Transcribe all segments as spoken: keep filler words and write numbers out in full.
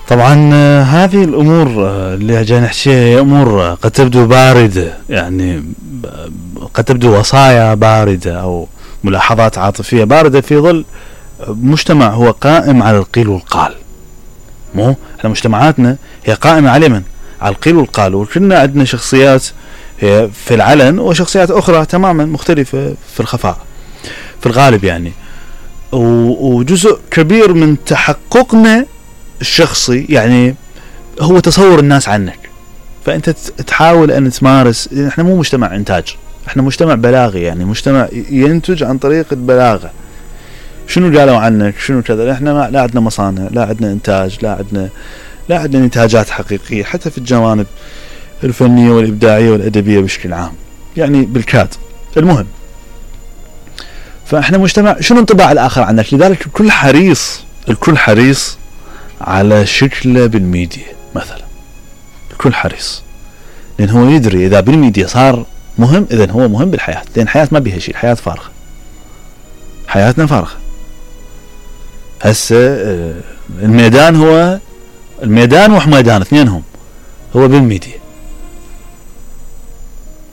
طبعا هذه الامور اللي جاي نحكيها هي امور قد تبدو باردة، يعني قد تبدو وصايا باردة او ملاحظات عاطفية باردة في ظل مجتمع هو قائم على القيل والقال. مو احنا مجتمعاتنا هي قائمة على من؟ على القيل والقال، وكلنا عندنا شخصيات هي في العلن وشخصيات اخرى تماما مختلفة في الخفاء في الغالب يعني. وجزء كبير من تحققنا الشخصي يعني هو تصور الناس عنك، فانت تحاول ان تمارس. احنا مو مجتمع انتاج، احنا مجتمع بلاغي، يعني مجتمع ينتج عن طريق البلاغة. شنو قالوا عنك شنو كذا، احنا لا عندنا مصانع، لا عندنا انتاج، لا عندنا لا عندنا انتاجات حقيقية حتى في الجوانب الفنية والابداعية والادبية بشكل عام، يعني بالكاد. المهم، فاحنا مجتمع شنو انطباع الاخر عنك، لذلك الكل حريص الكل حريص على شكله بالميديا مثلا. الكل حريص لان هو يدري اذا بالميديا صار مهم اذا هو مهم بالحياة، لان الحياة ما بيها شيء، الحياة فارغة، حياتنا فارغة. هسه الميدان هو الميدان وحميدان اثنينهم هو بالميديا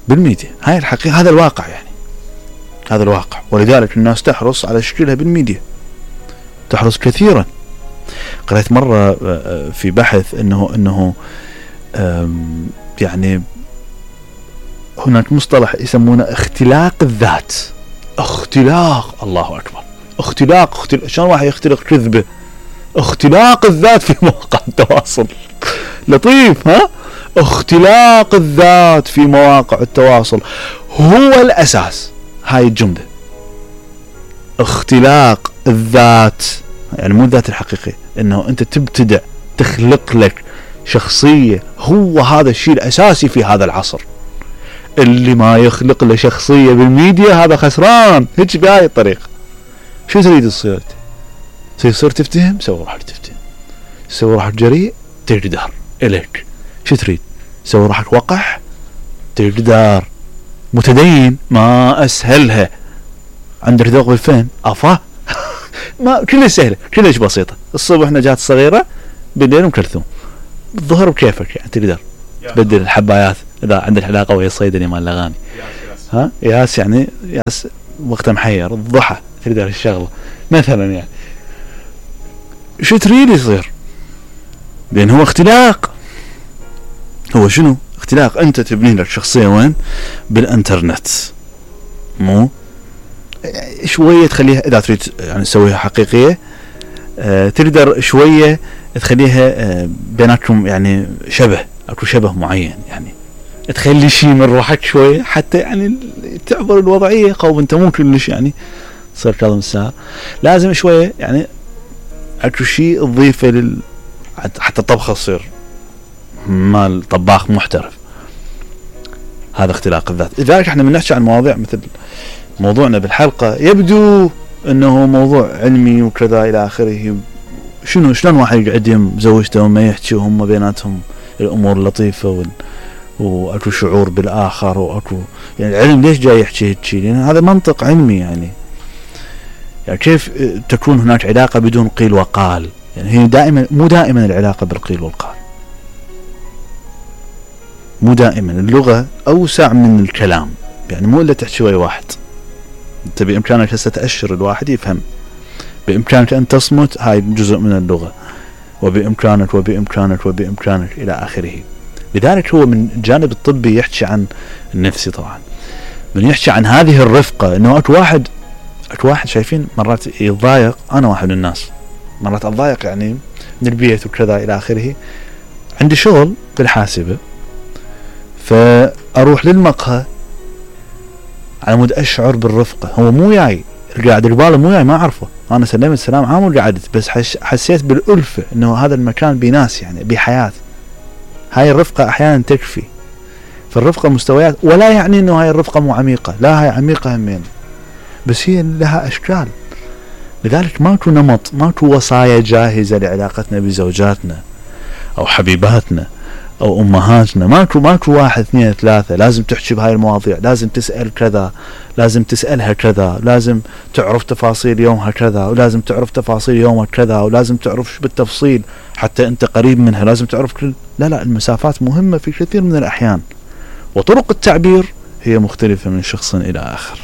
بالميديا هاي الحقيقة، هذا الواقع يعني، هذا الواقع. ولذلك الناس تحرص على شكلها بالميديا، تحرص كثيرا. قرأت مرة في بحث انه انه يعني هناك مصطلح يسمونه اختلاق الذات. اختلاق، الله اكبر، اختلاق اختلاق شلون واحد يختلق كذبة؟ اختلاق الذات في مواقع التواصل. لطيف ها؟ اختلاق الذات في مواقع التواصل هو الاساس. هاي الجملة اختلاق الذات، يعني مو الذات الحقيقية، انه انت تبتدع تخلق لك شخصية، هو هذا الشيء الاساسي في هذا العصر. اللي ما يخلق له شخصية بالميديا هذا خسران. هيك بهاي الطريقة. شو تريد تصير؟ تصير تفتهم؟ سوي روحك تفتهم. سوي روحك جريء؟ تقدر إليك. شو تريد؟ سوي روحك وقح؟ تقدر. متدين؟ ما اسهلها. عندك ذوق بالفن؟ افا ما كلها سهلة، كلش بسيطة. الصبح نجاة صغيرة، بالليل ام كلثوم، الظهر بكيفك يعني تقدر تبدل الحبايات اذا عندك علاقة ويا الصيدلي مال الاغاني. ها ياس يعني ياس وقت محير، الضحى تقدر الشغلة مثلا يعني. شو تريد يصير؟ لان هو اختلاق. هو شنو اختلاق؟ انت تبني لك شخصية وين؟ بالانترنت. مو شوية تخليها اذا تريد يعني تسويها حقيقية، اه تقدر شوية تخليها اه بيناتكم يعني شبه، اكو شبه معين، يعني تخلي شيء من روحك شوية حتى يعني تعبر الوضعية. قوم انت مو كلش يعني تصير كاظم الساعة، لازم شوية يعني اكو شيء تضيفه لل حتى الطبخة تصير مال طباخ محترف. هذا اختلاق الذات. لذلك احنا بنحكي عن مواضيع مثل موضوعنا بالحلقة يبدو انه موضوع علمي وكذا الى اخره. شنو شلون واحد يقعد يم زوجته وما يحكي وهم بيناتهم الامور لطيفة وال... واكو شعور بالاخر واكو يعني العلم ليش جاي يحكي هيك؟ لان هذا منطق علمي يعني. يعني كيف تكون هناك علاقة بدون قيل وقال؟ يعني هي دائما مو دائما العلاقة بالقيل والقال، مو دائما. اللغة اوسع من الكلام، يعني مو الا تحكي ويا واحد. انت بامكانك هسه تأشر الواحد يفهم، بامكانك ان تصمت، هاي جزء من اللغة، وبامكانك وبامكانك وبامكانك الى اخره. لذلك هو من الجانب الطبي يحكي عن النفسي طبعا، من يحكي عن هذه الرفقة. انه اكو واحد اكو واحد شايفين مرات يتضايق، انا واحد من الناس مرات اتضايق يعني من البيت وكذا الى اخره. عندي شغل بالحاسبة، فاروح للمقهى على مود اشعر بالرفقة. هو مو جاي قاعد قباله، مو جاي ما اعرفه، انا سلمت سلام عام وقعدت، بس حسيت بالألفة انه هذا المكان بناس يعني بحياة. هاي الرفقة احيانا تكفي. فالرفقة مستويات، ولا يعني انه هاي الرفقة مو عميقة، لا هاي عميقة همين، بس هي لها اشكال. لذلك ماكو نمط، ماكو وصايا جاهزة لعلاقتنا بزوجاتنا او حبيباتنا او امهاتنا، ماكو ماكو واحد اثنين ثلاثة لازم تحكي بهاي المواضيع، لازم تسأل كذا، لازم تسألها كذا، لازم تعرف تفاصيل يومها كذا، ولازم تعرف تفاصيل يومك كذا، ولازم تعرف بالتفصيل حتى انت قريب منها لازم تعرف كل. لا لا، المسافات مهمة في كثير من الاحيان، وطرق التعبير هي مختلفة من شخص الى اخر.